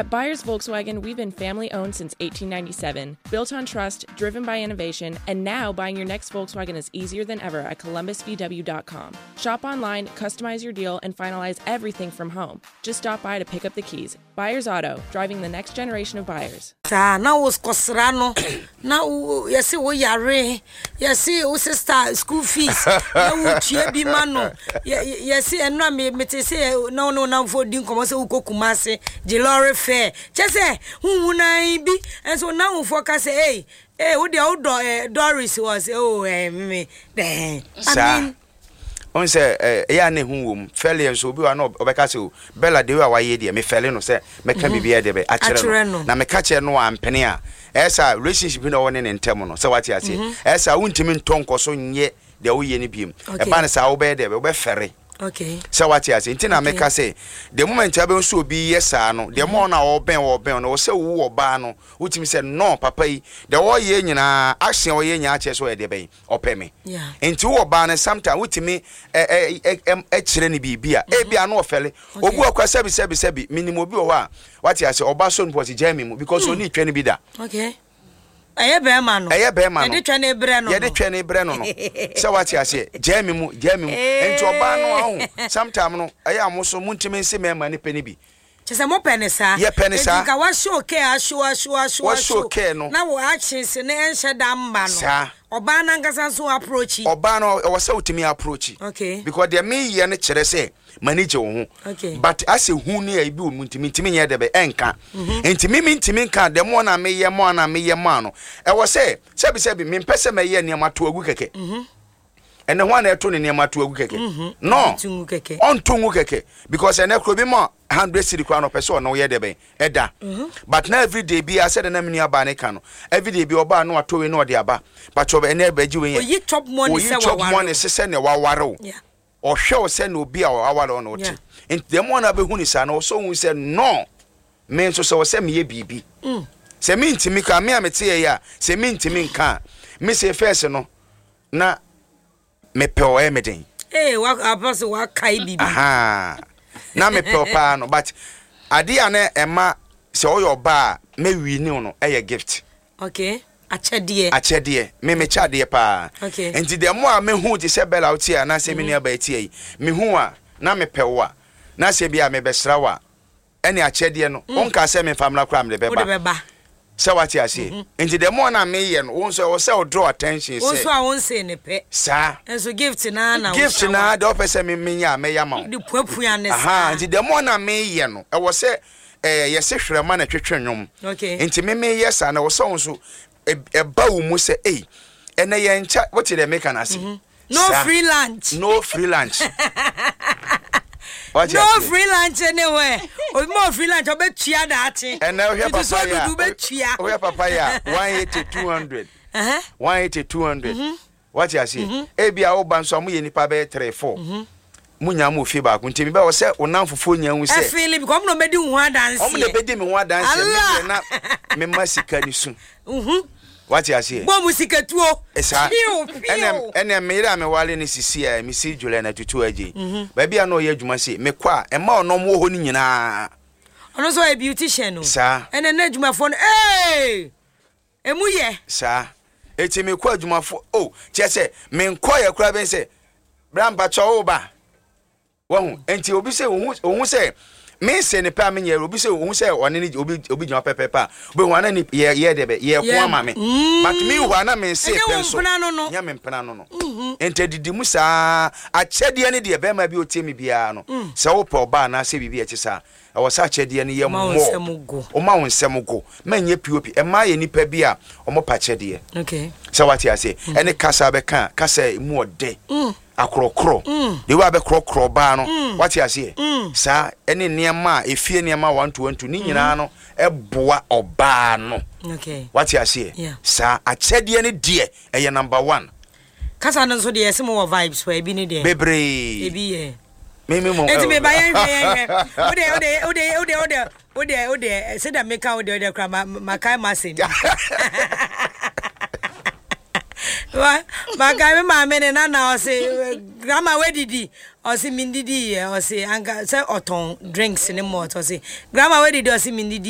At Buyers Volkswagen, we've been family owned since 1897, built on trust, driven by innovation, and now buying your next Volkswagen is easier than ever at columbusvw.com. Shop online, customize your deal, and finalize everything from home. Just stop by to pick up the keys. Buyers Auto, driving the next generation of buyers. Saa na wo kɔsra no na wo yɛse wo yare yɛse wo sister school fees na wo tua bi ma no yɛ yɛse ɛno a me mete sɛ na wo ne wo namfo di nkɔmmɔ sɛ wokɔ Kumase gye lɔre fare kyɛ sɛ huhu nan bi nso wo namfoɔ ka sɛ ei ei wo deɛ wodɔ eh, Doris wɔ sɛ oh eh, me dɛn I Saa. mean Wohu sɛ ɛyɛ a na ehu wɔ mu. Fɛleɛ nso, obi wɔ hɔ a na ɔbɛka sɛ, o, Bella, the way a wayɛ deɛ, mefɛle no sɛ mɛka biribi ayɛ deɛ bɛ, akyerɛ no. Na meka kyerɛ no a ampene a, ɛyɛ sɛ a relationship no a ɔwɔ ne ne ntam no, sɛ wate aseɛ, ɛyɛ sɛ a wontumi ntɔ nkɔ so nyɛ deɛ woyɛ no biom. Ɛba no saa a, wobɛyɛ deɛ bɛ, wobɛfɛre. Sɛ wate aseɛ. Nti na meka sɛ, the moment a wobɛhu sɛ obi yɛ saa no, the more no a ɔbɛn wo, ɔbɛn wo no, ɛwɔ sɛ wo ɔbaa no, wotumi sɛ, no, papa yi, deɛ ɔreyɛ nyinaa, action a ɔyɛ nyinaa kyerɛ sɛ ɔyɛ deɛ bɛn, ɔpɛ me nti wowɔ baa no sometime wotumi kyerɛ no biribi a ebi ano ɔfɛle obi wɔ kora sɛbi sɛbi sɛbi menim obi wɔ hɔ a wate ase ɔba so no pɔsi gyaa mi mu because ɔni twɛ no bi da. Okay. Ɛyɛ bɛrima no. Ɛyɛ bɛrima no. Yɛde twɛ ne brɛ no. Yɛde twɛ ne brɛ no no. Sɛ wate aseɛ gyaa mi mu gyaa mi mu nti ɔbaa no aho sometime no ɛyɛ a mo so montumi nse mɛrima ne pɛ ne bi. Kyerɛ sɛ mopɛ no saa. Yɛpɛ no saa. Enti nka wa show care a show a show a show a show care no. Na wo actions no ɛnhyɛ da mma no. Saa. Ɔbaa no ankasa nso approach. Ɔbaa no ɛwɔ sɛ wotumi approach. Okay. Because deɛ meyɛ no kyerɛ sɛ m'ani gye wo ho. Okay. But asɛ hu ne ayi bi wɔ mu nti mentumi nyɛ dɛ bɛ ɛnka. Nti me mentumi nka the more na meyɛ more na meyɛ more no ɛwɔ sɛ sɛbi sɛbi mempɛ sɛ mɛyɛ nneɛma to agu kɛkɛ. Ɛnɛ hwan na ɛto ne nneɛma to agu kɛkɛ? Mhm. No, Ɔnto ngu kɛkɛ. Ɔnto ngu kɛkɛ because ɛnɛ kuro bi ma 100 cedi koraa na ɔpɛ sɛ ɔne woyɛ dɛ bɛn ɛda. Mhm. But na everyday biara sɛdeɛ na me nua baa ne ka no, everyday bi ɔbaa na watɔ wei na ɔde aba. But ɔbɛ ɛnɛ bɛgye wei yɛ. Oyi chop money Oyi sɛ chop waware money wo. sɛ sɛdeɛ waware wo. Ɔhwɛ wo sɛ na obi a waware wo na ɔte. Nti the more na bɛhu ne saa no, ɔsɛ ohun sɛ no, me nso sɛ ɔsɛ meyɛ biribi. Sɛ mentumi ka, me a mete yɛ yi a, sɛ mentumi nka a, me se first no, na mepɛ wo ɛyɛ me den. Ee wa apa so wakae biribi. Ahaa na mepɛ wo paa no but adeɛ a na ɛma sɛ ɔyɛ ɔbaa a mɛwi ne no ɛyɛ gift. Okay akyɛdeɛ. Akyɛdeɛ me mekyɛ adeɛ paa. Okay. Nti the more a mehu te sɛ Bella wotie anaasɛ me nua baa tie yi mehu a na mepɛ wo a na sɛ bi a mebɛsra wo a ɛne akyɛdeɛ no mm. wonka sɛ memfa mmra koraa mede bɛba sɛ wate aseɛ mm-hmm. nti the more na meyɛ no wo nso ɛwɔ sɛ wo draw attention sɛ wo nso a wonsee ne pɛ saa nso gift naa na gift naa deɛ wopɛ sɛ menya a mɛyɛ ama wo de puapua ne saa nti the more na meyɛ no ɛwɔ sɛ ɛɛ yɛse hwerɛma na ɛtwetwe nnwom okay. nti me meyɛ saa na ɛwɔ sɛ wo nso ɛba wo mu sɛ ei ɛnɛ yɛnkyɛ wote deɛ meka no ase mm -hmm. No free lunch. No free lunch. No free lunch anywhere. Obi ma free lunch ɔbɛtua daakye. Ɛnna wohwɛ papa yi a wohwɛ papa yi a 180 200 180 200 wate aseɛ mm-hmm. ebi a woba nso a moyɛ nipa bɛyɛ 3 4 mm-hmm. mo nyinaa mo fie baako nti mebɛ wɔ sɛ wo nam fufuo nyinaa hu sɛ ɛfeeli bi kɔ ɔmo na ɔbɛdi wo ho adanseɛ ɔmo na ɛbɛdi me ho adanseɛ me deɛ na mema sika ne su Wate aseɛ? Bɔ mu sikatuo. Saa. Piu, piu. Ɛnɛ, ɛnɛ me yere a mewale no sisi a, mesi Juliana Tutu Adjei. Baabi a na ɔyɛ adwuma sei, mekɔ a, mma ɔno ɔmo wɔ hɔ no nyinaa. Ɔno nso ɔyɛ beautician o. Saa. Ɛnɛ na adwumafoɔ no, ee! Emu yɛ. Saa. Eti mekɔ adwumafoɔ, oh, kyerɛ sɛ, menkɔeɛ koraa bɛn sɛ, bra mpakyɛ wo ba. Wahu? Enti obi sɛ ohu ohu sɛ me nse ne pɛ a menyɛ obi sɛ ohu sɛ ɔne ne obi obi gyina pɛpɛpɛ a obehu ana ne yɛ yɛ dɛ bɛ yɛ ko ama me. But me hu ana me nse pɛ nso. Nyɛ me mpena no no. Enti adidi mu saa akyɛdeɛ ne deɛ bɛrima bi otie me biara no sɛ wopɛ ɔbaa anaasɛ biribi a ɛte saa ɛwɔ sɛ akyɛdeɛ no yɛ more. Woma wo nsɛm go. Mɛnyɛ POP. Mmaa yɛ nnipa bi a wɔpɛ akyɛdeɛ. Sɛ wate aseɛ. Ɛne kasa bɛka a kasa a emu ɔdɛ. Akorɔkorɔ. The way a bɛkorɔkorɔ ɔbaa no. Wate aseɛ? Saa ɛne nneɛma a efie nneɛma 1 to 1 to ne nyinaa no ɛboa ɔbaa no. Wate aseɛ? Saa akyɛdeɛ no deɛ ɛyɛ number one. Kasa no nso deɛ yɛse mo wɔ vibes paa ebi ne deɛ. Bebree. Ebi yɛ. Me me mo. Eti me ba yɛn hwɛ yɛn hwɛ. Wo deɛ wo deɛ wo deɛ wo deɛ wo deɛ wo deɛ wo deɛ sɛdeɛ meka wo deɛ wo deɛ kora ma makae m'asɛm bi. Makae me maame ne nana ɔse grandma wadidi ɔse mendidi yɛ ɔse anka sɛ ɔtɔn drinks ne malt ɔse grandma wadidi ɔse mendidi.